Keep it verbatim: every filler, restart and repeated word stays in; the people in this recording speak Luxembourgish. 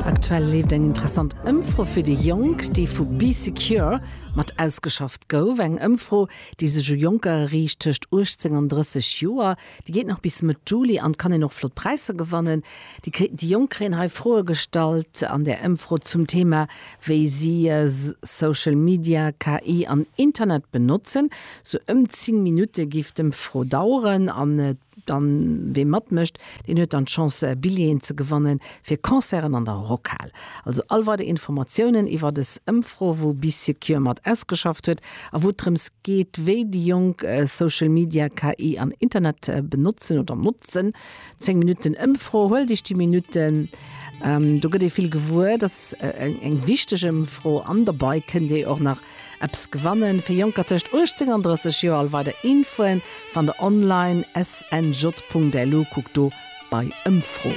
Aktuell leeft eng interessant Ëmfro fir déi Jonk, déi vu Bee Secure mat ausgeschafft gouf. Eng Ëmfro, déi sech u Jonker riicht tëscht uechtzéng an drësseg Joer. Déi geet nach bis Mëtt Juli an et kann een och flott Präisser gewannen. Déi kri déi Jonk kréien hei Froe gestallt an där Ëmfro zum Thema, wéi si Social Media, K I an Internet benotzen. Sou ëm zéng Minutte géif d'Ëmfro daueren an dann wee matmécht, deen huet dann d'Chance Billjeeën ze gewannen fir Concerten an der Rockhal. Also all weider Informatiounen iwwer des Ëmfro, wou Bee Secure mat ausgeschafft huet a wou et drëms geet, wéi déi Jonk Social Media, K I an Internet benotzen oder notzen. Zéng Minutten Ëmfro, huelt iech déi Minutten, do gëtt ee vill gewuer. Dat ass eng wichteg Ëmfro an derbei kënnt dir och nach eppes gewannen. Fir Jonker tëscht uechtzéng an drësseg Joer. All weider Infoen fannt der online snj Punkt lu, kuckt do bei Ëmfro.